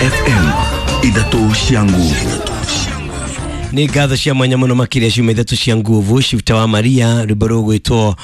FM ithatũ cia nguvu. Nĩ ngatho cia mwanya mũno makĩria ciuma ithatũ cia nguvu. Shifta wa Maria, rwĩmbo rũgwĩtwo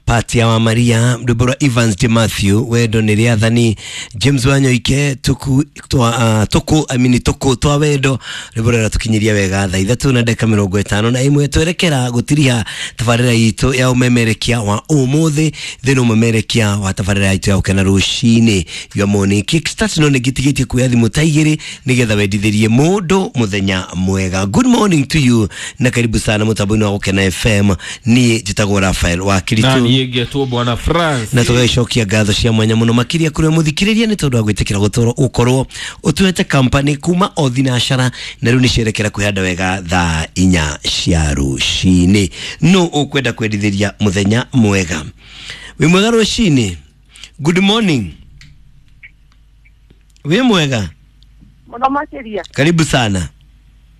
Patia wa Maria, rwĩmbo rwa Evans de Matthew, wendo nĩ rĩathani, James Wanyoike, tuku twa tuku I mean, tuku twa wendo, rwĩmbo rũrĩa tũkinyiria wega thaa 3:51. Twerekera gũtiriha tabarĩra itũ ya ũmemerekia wa ũmũthĩ thĩinĩ ũmemerekia wa tabarĩra itũ ya gũkena rũcinĩ your morning kickstart. No nĩngĩtigĩtie kuoya thimũ ta igĩrĩ nĩgetha wendithĩrie mũndũ mũthenya mwega. Good morning to you na karibu sana mũtambo-inĩ wa Gũkena FM. Niĩ njĩtagwo Rafael wa na Kiritu niĩ ngetwo Bwana France. Na tũgagĩcokia ngatho cia mwanya mũno makĩria kũrĩ mũthikĩrĩria nĩ tondũ wa gwĩtĩkĩra gũtũrwo ũkorwo ũtuĩte kampani kuma o thinacara na rĩu nĩ cierekera kwĩhanda wega thaa 4 cia rũcinĩ. Nũ ũkwenda kwendithĩria mũthenya mwega? Wĩ mwega rũcinĩ? Good morning. Wĩ mwega? Mũno makĩria. Karibu sana.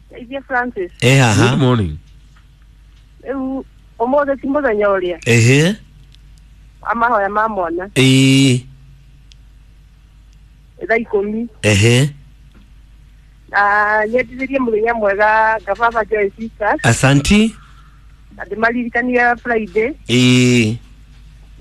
Teithia Francis. Ĩ haha. Good morning. Rĩu ũmũthĩ ti mũthenya ũrĩa Ehe. wa mahoya ma mwana. Ĩĩ. Thaa 10. Ehe. Na nyendithĩrie mũthenya mwega ngababa Joy Sisters. Asanti. Na ndĩmaririkanie Friday. Ĩĩ.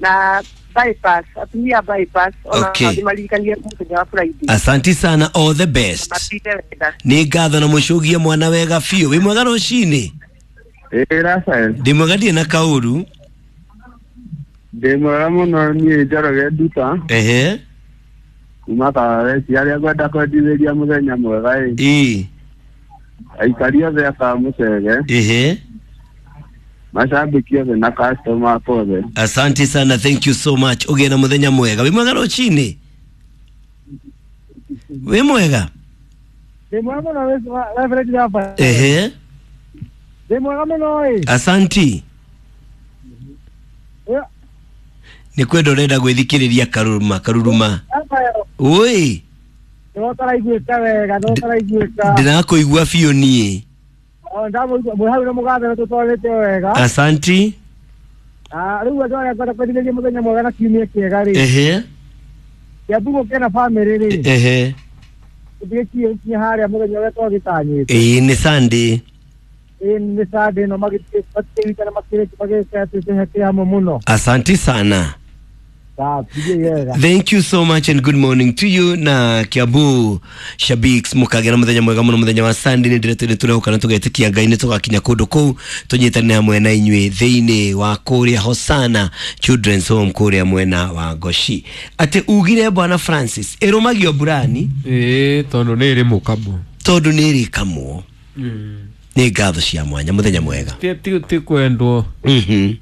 Na bypass, atumia a bypass ona Okay. ndĩmaririkanie mũthenya wa Friday. Asanti sana, all the best. Matinde wega. Nĩ ngatho na mũcũgie mwana wega biũ. Wĩ mwega rũcinĩ? Ĩĩ Rafael. Ndĩ mwega, ndirĩ na kaũru. Ndĩ mwega mũno niĩ Njoroge Nduta. Ehe. Kuma Karareci. Arĩa ngwenda kwendithĩria mũthenya mwega ĩ, Ĩĩ. aikari othe a Kamũcege, Ehe. macambĩki othe na customer akwa othe. Asante sana, thank you so much. Ũgĩe na mũthenya mwega. Wĩ mwega rũcinĩ? Wĩ mwega? Ndĩ mwega mũno Reverend Rafael. Ehe. Ndĩ mwega mũno ĩ. Asanti. Nĩ kwenda ũrenda gwĩthikĩrĩria karuruma karuruma. Rafael. Ũĩ. Nĩ ũtaraiguĩka wega, nĩ ũtaraiguĩka. Ndĩrakũigua biũ niĩ. O ndamũigua mwĩ hau na mũgathe nĩ tũtwarĩte wega. Asanti. Ah, rĩu andũ arĩa ngwenda kwendithĩria mũthenya mwega na kiumia kĩega rĩ. Ehe. Kĩambu gũkena famĩlĩ rĩ. Ehe. Tũtigĩkinyie gũkinya harĩa mũthenya ũrĩa twagĩtanyĩte. Ĩĩ nĩ Sunday. Ĩĩ nĩ Sunday ĩno magĩtigĩkana makĩrĩki magĩka atĩ hamwe mũno. Asanti sana. Sawa, tũthiĩ wega. Thank you so much and good morning to you na Kiambu Shabiks, mukagera muthenya mwega muno muthenya wa Sunday. Nĩ ndĩretwo tũrehoka na tũgetĩkia Ngai nĩ tũgakinya kũndũ kũu tũnyitane hamwe na inyuĩ thĩinĩ wa kũrĩa Hosana Children's Home kũrĩa mwena wa Goshi. Atĩ ugire Bwana Francis ĩrũmagio mburani. Ĩĩ, tondũ nĩ ĩrĩ mũkamo. Tondũ nĩ ĩrĩkamwo. Nĩ ngatho cia mwanya, mũthenya mwega. Ti kwendwo.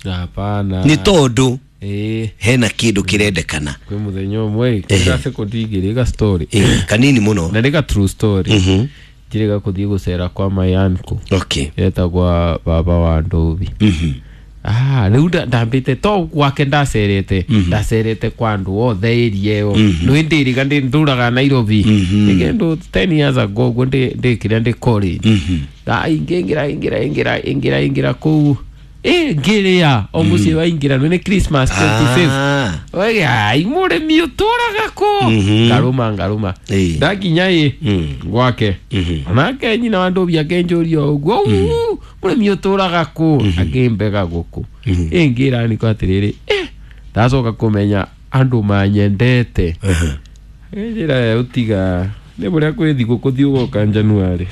Hapana. Nĩ tondũ Ĩĩ. hena kĩndũ kĩrendekana. Kwĩ mũthenya ũmwe Ehe. ĩ sekondi igĩrĩ ga story. Ĩĩ, kanini mũno. Na nĩ ga true story. Njĩrĩga kũthiĩ gũcera kwa my uncle. Okay. Etagwa baba wa Ndovi. Ah, rĩu ndambĩte to gwake ndacerete, ndacerete kwa andũ othe area ĩyo. Nĩ ndĩrĩga ndũraga Nairobi. Nĩ kĩndũ 10 years ago ũguo ndĩkĩrĩa ndĩ college. Ingĩra ingĩra ingĩra ingĩra ingĩra kũu. Ĩ ngĩrĩa o mũciĩ waingĩra nĩ Christmas 25th. Ah. Oige ai mũrĩmi ũtũraga kũ. Ngarũma ngarũma. Ĩĩ. Ndakinya ĩ gwake. Onake nyina wa Ndovi akĩnjũria ũguo, "Uu, mũrĩmi ũtũraga kũ?" Akĩmbega gũkũ. Ĩ ngĩra niko atĩrĩrĩ, ndacoka kũmenya andũ manyendete. Njĩra ũtiga nĩ bũrĩa kwĩ thigũkũ thiĩ ũgoka January.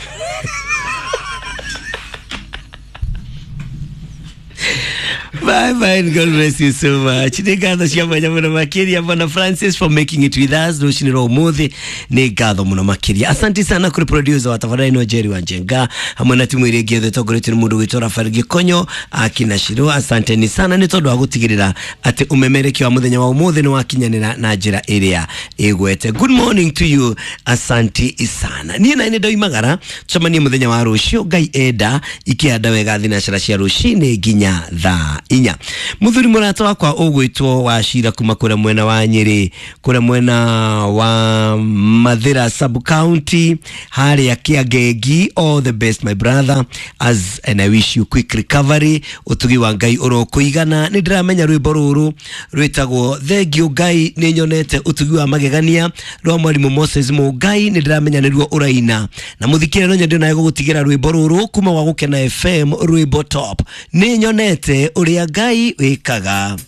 Bye bye and God bless you so much. Nĩ ngatho cia mwanya mũno makĩria Bwana Francis for making it with us rũcinĩ rwa ũmũthĩ. Nĩ ngatho mũno makĩria. Asante sana kũrĩ producer wa tabarĩra ĩno Jerry wa Njenga hamwe na timu ĩrĩa ĩngĩ yothe ĩtongoretio nĩ mũndũ gwĩtwo Rafael Gĩkonyo akina Shiro. Asanteni sana nĩ tondũ wa gũtigĩrĩra atĩ ũmemerekio wa mũthenya wa ũmũthĩ nĩ wakinyanĩra na njĩra ĩrĩa ĩgwete. Good morning to you. Asante sana. Niĩ na nĩ ndoimagara tũcemanie mũthenya wa rũciũ Ngai enda ikĩhanda wega thinacara cia rũcinĩ nginya thaa 4. Kinya. Muthuri murata wakwa ũgwĩtwo wa cira kuma kũrĩa mwena wa Nyĩrĩ, kũrĩa mwena wa Mathira sub county harĩa Kĩangegi. All the best, my brother, as and I wish you quick recovery. Ũtugi wa Ngai ũrokũigana. Nĩ ndĩramenya rwĩmbo rũrũ rwĩtagwo Thengio Ngai nĩ nyonete ũtugi wa magegania rwa mwarimũ Moses Mũngai, nĩ ndĩramenya nĩruo ũraina na mũthikĩre. No nyende nawe gũgũtigĩra rwĩmbo rũrũ kuma gwa Gũkena FM, rwĩmbo top, nĩ nyonete ũrĩa Ngai wĩkaga.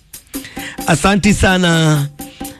Asanti sana.